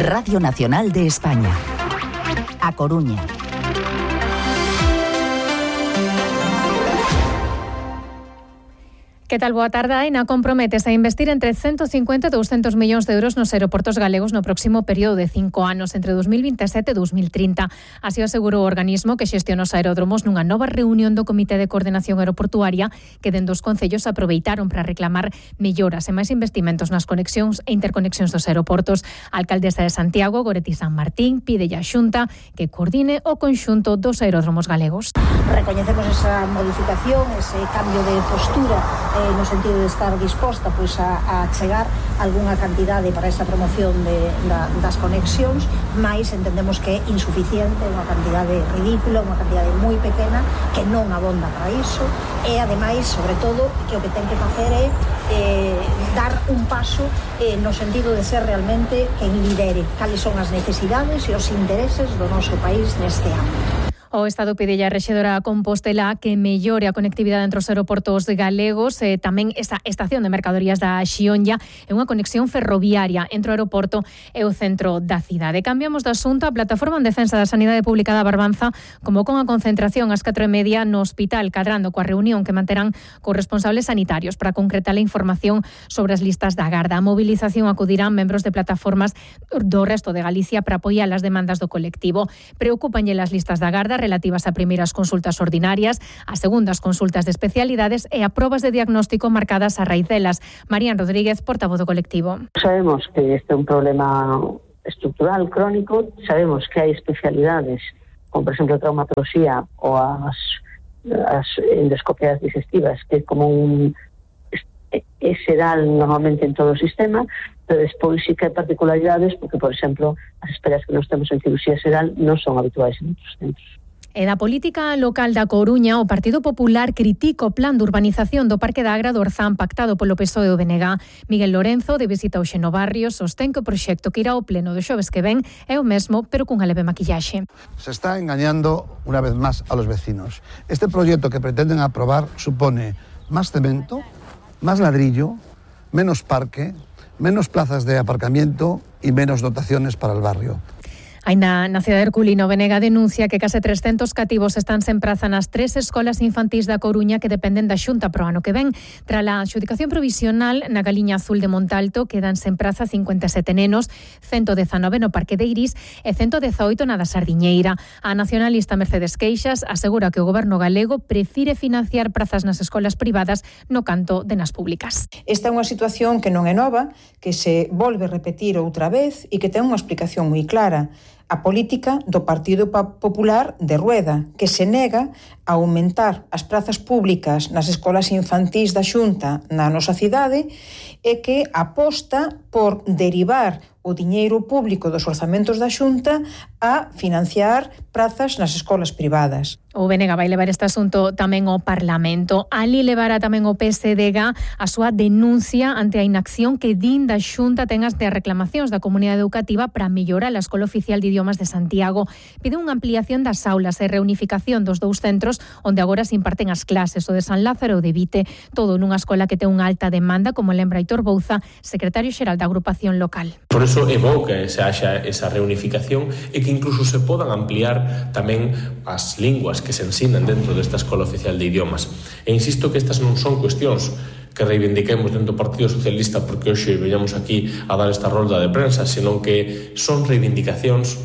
Radio Nacional de España. A Coruña. Que tal? Boa tarde. Aena comprométese a investir entre 150 e 200 millóns de euros nos aeroportos galegos no próximo período de 5 anos, entre 2027 e 2030. Así o asegurou o organismo que xestiona os aeródromos nunha nova reunión do Comité de Coordenación Aeroportuaria que dende os concellos aproveitaron para reclamar melloras e máis investimentos nas conexións e interconexións dos aeroportos. A alcaldesa de Santiago, Goretti San Martín, pide a Xunta que coordine o conxunto dos aeródromos galegos. Recoñecemos esa modificación, ese cambio de postura no sentido de estar disposta a chegar algunha cantidade para esta promoción das conexións, mais entendemos que é insuficiente, unha cantidade ridícula, unha cantidade moi pequena que non abonda para iso e ademais, sobre todo, que o que ten que facer é dar un paso no sentido de ser realmente quen lidere cales son as necesidades e os intereses do noso país neste ámbito. O Estado pide a rexedora Compostela que mellore a conectividade entre os aeroportos galegos e tamén esa estación de mercadorías da Xionlla e unha conexión ferroviaria entre o aeroporto e o centro da cidade. Cambiamos de asunto. A Plataforma en Defensa da Sanidade Pública da Barbanza convocou a concentración ás 4:30 no Hospital Cadrando coa reunión que manterán cos responsables sanitarios para concretar a información sobre as listas da Garda. A movilización acudirán membros de plataformas do resto de Galicia para apoiar as demandas do colectivo. Preocúpanlle as listas da Garda relativas a primeiras consultas ordinarias, a segundas consultas de especialidades e a probas de diagnóstico marcadas a raíz delas. Marían Rodríguez, portavoz do colectivo. Sabemos que este é un problema estructural, crónico, sabemos que hai especialidades, como por exemplo a traumatología ou as endoscopias digestivas, que é como é xeral normalmente en todo o sistema, pero despois sí que hai particularidades, porque, por exemplo, as esperas que nós temos en cirurxía xeral non son habituais en outros centros. E da política local da Coruña, o Partido Popular critica o plan de urbanización do Parque da Agra do Orzán pactado polo PSOE e o BNG. Miguel Lorenzo, de visita ao Xenobarrio, sostén que o proxecto que irá ao pleno do xoves que ven é o mesmo, pero cunha leve maquillaxe. Se está engañando una vez más a los vecinos. Este proyecto que pretenden aprobar supone más cemento, más ladrillo, menos parque, menos plazas de aparcamiento y menos dotaciones para el barrio. Aínda na cidade de Herculino, BNG denuncia que case 300 cativos están sen praza nas 3 escolas infantís da Coruña que dependen da Xunta pro ano que ven. Tras a adxudicación provisional na Galiña Azul de Montalto quedan sen praza 57 nenos, 119 no Parque de Iris e 118 na da Sardiñeira. A nacionalista Mercedes Queixas asegura que o goberno galego prefire financiar prazas nas escolas privadas no canto de nas públicas. Esta é unha situación que non é nova, que se volve a repetir outra vez e que ten unha explicación moi clara. A política do Partido Popular de Rueda, que se nega a aumentar as prazas públicas nas escolas infantís da Xunta na nosa cidade e que aposta por derivar o diñeiro público dos orzamentos da Xunta a financiar prazas nas escolas privadas. O BNG vai levar este asunto tamén ao Parlamento. Ali levará tamén o PSDG a súa denuncia ante a inacción que din da Xunta ten as reclamacións da comunidade educativa para mellorar a Escola Oficial de Idiomas de Santiago. Pide unha ampliación das aulas e reunificación dos dous centros onde agora se imparten as clases, o de San Lázaro e o de Vite, todo nunha escola que ten unha alta demanda, como lembra Aitor Bouza, secretario xeral da agrupación local. Por eso é bo que se haxa esa reunificación e que incluso se podan ampliar tamén as linguas que se ensinan dentro desta Escola Oficial de Idiomas. E insisto que estas non son cuestións que reivindiquemos dentro do Partido Socialista porque hoxe veñamos aquí a dar esta rolda de prensa, senón que son reivindicacións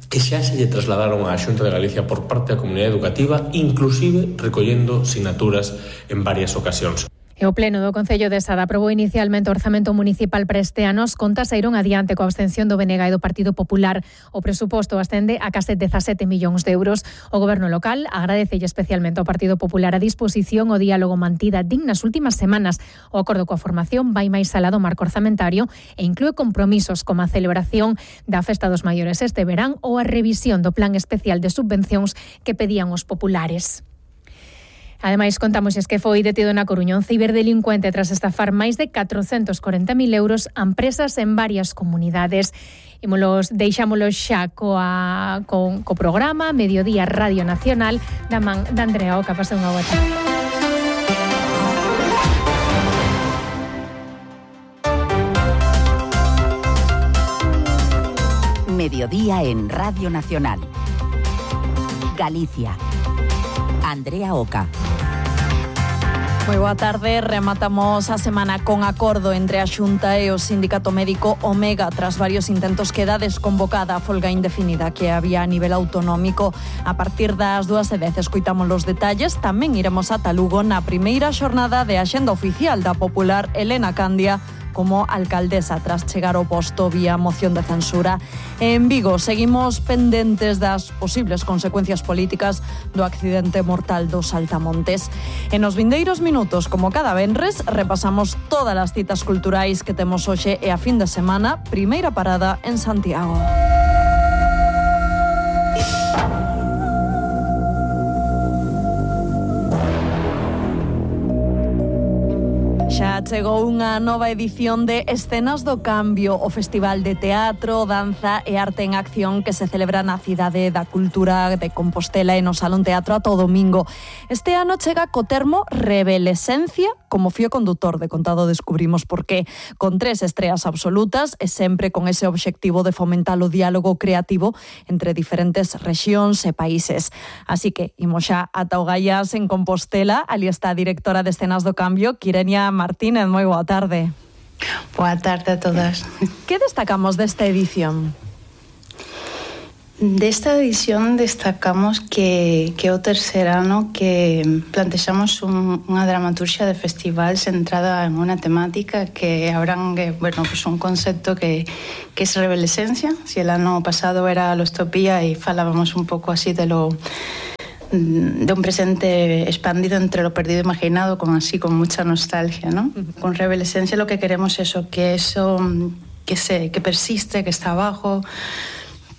que xa se lle trasladaron á Xunta de Galicia por parte da comunidade educativa, inclusive recollendo sinaturas en varias ocasións. E o Pleno do Concello de Sada aprobou inicialmente o orzamento municipal para este ano. As contas saíron adiante coa abstención do BNG e do Partido Popular. O presuposto ascende a case 17 millóns de euros. O goberno local agradecelle especialmente ao Partido Popular a disposición o diálogo mantida din nas últimas semanas. O acordo coa formación vai máis alá do marco orzamentario e inclúe compromisos como a celebración da Festa dos Maiores este verán ou a revisión do plan especial de subvencións que pedían os populares. Ademais, contamos que foi detido na Coruña un ciberdelincuente tras estafar máis de 440.000 euros a empresas en varias comunidades. Deixámolos xa co programa Mediodía Radio Nacional da man de Andrea Oca. Pase unha boa tarde. Mediodía en Radio Nacional. Galicia. Andrea Oca. Moi boa tarde, rematamos a semana con acordo entre a Xunta e o Sindicato Médico Omega tras varios intentos queda desconvocada a folga indefinida que había a nivel autonómico. A partir das 2:10 escoitamos os detalles, tamén iremos ata Lugo na primeira xornada de Axenda Oficial da popular Elena Candia como alcaldesa tras chegar ao posto vía moción de censura. En Vigo seguimos pendentes das posibles consecuencias políticas do accidente mortal dos Saltamontes. En os vindeiros minutos, como cada venres, repasamos todas as citas culturais que temos hoxe e a fin de semana, primeira parada en Santiago. Xa chegou unha nova edición de Escenas do Cambio, o festival de teatro, danza e arte en acción que se celebra na Cidade da Cultura de Compostela e no Salón Teatro ata o domingo. Este ano chega co termo Revelescencia como fío condutor, de contado descubrimos por qué, con 3 estreas absolutas e sempre con ese obxectivo de fomentar o diálogo creativo entre diferentes rexións e países. Así que imos xa ata o Gaiás en Compostela, ali está a directora de Escenas do Cambio, Quirenia Martínez, moi boa tarde. Boa tarde a todas. Que destacamos desta edición? Desta edición destacamos que o terceiro ano que plantexamos unha dramaturxia de festival centrada en unha temática que abrangue, pues un concepto que es revelescencia. Si el ano pasado era lostopía e falábamos un pouco así de un presente expandido entre lo perdido e imaginado, con mucha nostalgia, ¿no? Con revelescencia lo que queremos es que persiste, que está abajo,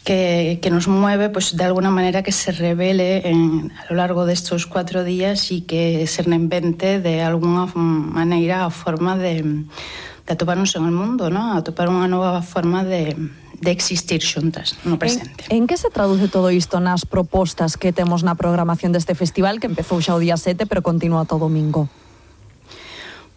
que nos mueve, pues de alguna manera que se revele a lo largo de estos 4 días y que se reinvente de alguna maneira a forma de atoparnos en el mundo, ¿no? Atopar unha nova forma de existir xuntas no presente. En que se traduce todo isto nas propostas que temos na programación deste festival, que empezou xa o día 7, pero continúa todo domingo?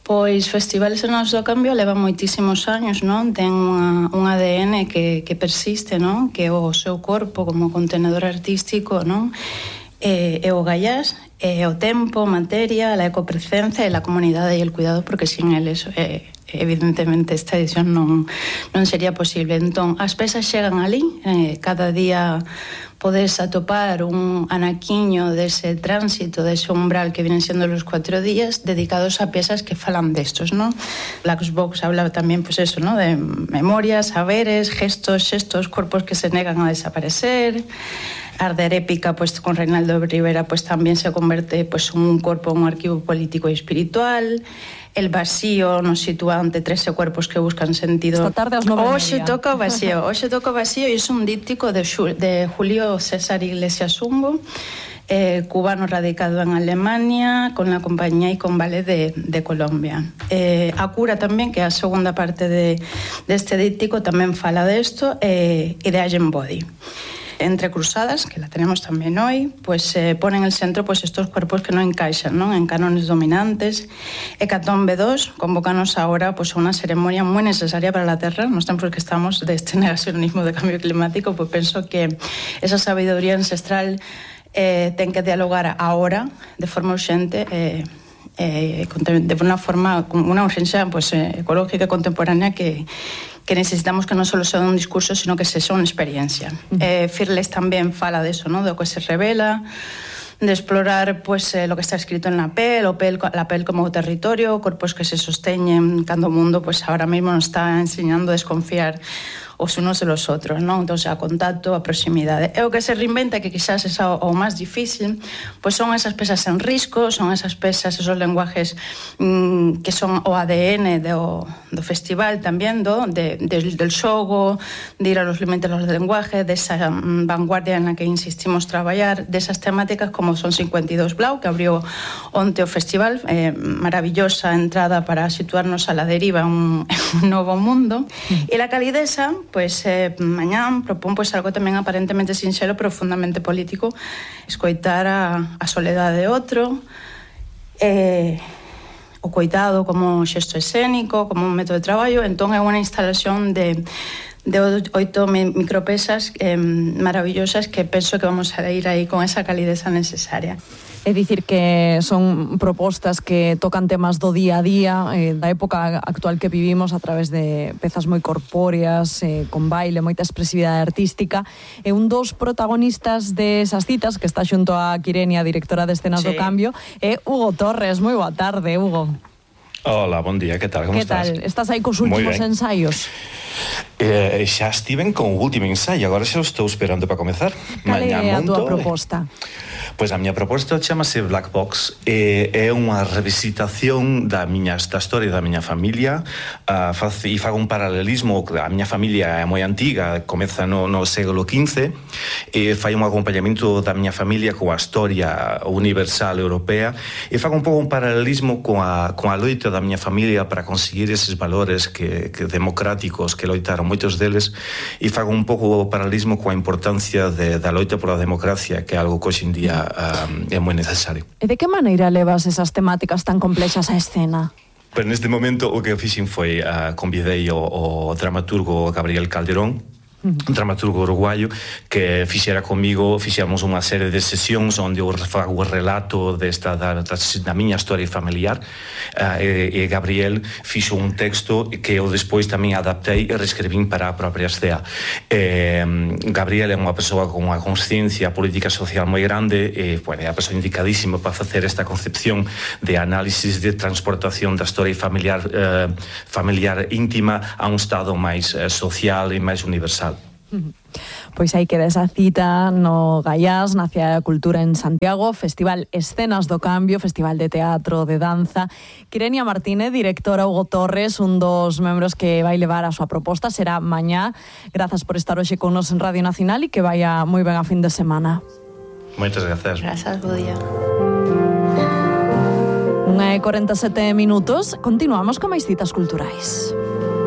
Pois Festivales Escenas do Cambio leva moitísimos años, non? Ten un ADN que persiste, non? Que o seu corpo como contenedor artístico, non? E o Gaiás, e o tempo, materia, a ecopresencia e a comunidade e el cuidado, porque sin eles evidentemente esta edición non sería posible. Entón, as pezas chegan ali, cada día podes atopar un anaquiño dese tránsito, dese umbral que vienen sendo los 4 días dedicados a piezas que falan destos, ¿no? Black Box habla tamén, pues eso, ¿no? De memorias, saberes, gestos, xestos, cuerpos que se negan a desaparecer. Arder Épica, pues con Reinaldo Rivera, pues también se convierte pues en un cuerpo, un arquivo político y espiritual. El vacío nos sitúa ante 13 cuerpos que buscan sentido. Esta tarde as 9:30. Hoxe toca o vacío e é un díptico de Julio César Iglesias Zumbo, cubano radicado en Alemania, con la compañía y con ballet de Colombia. A cura tamén, que é a segunda parte deste díptico, tamén fala desto, e de Allen Body. Entre Cruzadas, que la tenemos también hoy, pues pone en el centro pues estos cuerpos que no encaixan, ¿no? En cánones dominantes. Hecatombe 2, convocanos ahora pues a una ceremonia muy necesaria para la Tierra. Nos tiempos que estamos de este negacionismo de cambio climático, pues pienso que esa sabiduría ancestral ten que dialogar ahora de forma urgente, de una forma, una urgencia pues ecológica contemporánea que necesitamos que non só sea un discurso, sino que sea unha experiencia. Fearless tamén fala de eso, ¿no? De lo que se revela, de explorar pues lo que está escrito en la pel, la pel como territorio, cuerpos que se sosteñen cando o mundo pues ahora mismo nos está enseñando a desconfiar os unos de los otros, ¿no? Entonces, a contacto, a proximidade. E o que se reinventa, que quizás é o máis difícil, pues son esas pesas en risco, son esas pesas, esos lenguajes que son o ADN do festival tamén, del xogo, de ir a los límites do lenguaje, desa vanguardia en la que insistimos traballar, desas temáticas como son 52 Blau, que abriu onte o festival, maravillosa entrada para situarnos a la deriva en un novo mundo, e la calidesa, pues mañán propón pues algo tamén aparentemente sinxelo, pero fundamentalmente político, escoitar a soledade de outro, o coitado como xesto escénico, como un método de traballo. Entón é unha instalación de 8 micropesas maravillosas que penso que vamos a ir aí con esa calideza necesaria. É dicir que son propostas que tocan temas do día a día, da época actual que vivimos a través de pezas moi corpóreas, con baile, moita expresividade artística. E un dos protagonistas desas citas, que está xunto a Quirenia, directora de Escenas do Cambio, é Hugo Torres. Moi boa tarde, Hugo. Hola, bon día, que tal? Como estás? Que tal? Estás aí cos últimos ensaios? Xa estiven con o último ensaio, agora xa estou esperando para comezar. Cal é a túa proposta? Pois a miña proposta chamase Black Box, é unha revisitación da historia da miña familia, e fago un paralelismo. A miña familia é moi antiga, comeza no século XV, e fai un acompañamento da miña familia coa historia universal europea, e fago un pouco un paralelismo coa loita da miña familia para conseguir eses valores que democráticos que loitaron moitos deles, e fago un pouco o paralelismo coa importancia da loita pola democracia, que é algo que hoxe en día é moi necesario. E de que maneira levas esas temáticas tan complexas á escena? Pero neste momento o que fixen foi convidei o dramaturgo Gabriel Calderón, un dramaturgo uruguayo, que fixera comigo, fixemos unha serie de sesións onde eu fago o relato da miña historia familiar, e Gabriel fixo un texto que eu despois tamén adaptei e reescribín para a propia escena. Gabriel é unha persoa con unha consciencia política social moi grande, e é a persoa indicadísima para facer esta concepción de análisis de transportación da historia familiar íntima a un estado máis social e máis universal. Pois aí queda esa cita no Gaiás, na Cidade da Cultura en Santiago, Festival Escenas do Cambio, Festival de Teatro, de Danza. Quirenia Martínez, directora, Hugo Torres, un dos membros que vai levar a súa proposta, será mañá. Grazas por estar hoxe con nos en Radio Nacional e que vaya moi ben a fin de semana. Moitas grazas. Grazas, bo día. 1:47 minutos, continuamos con máis citas culturais.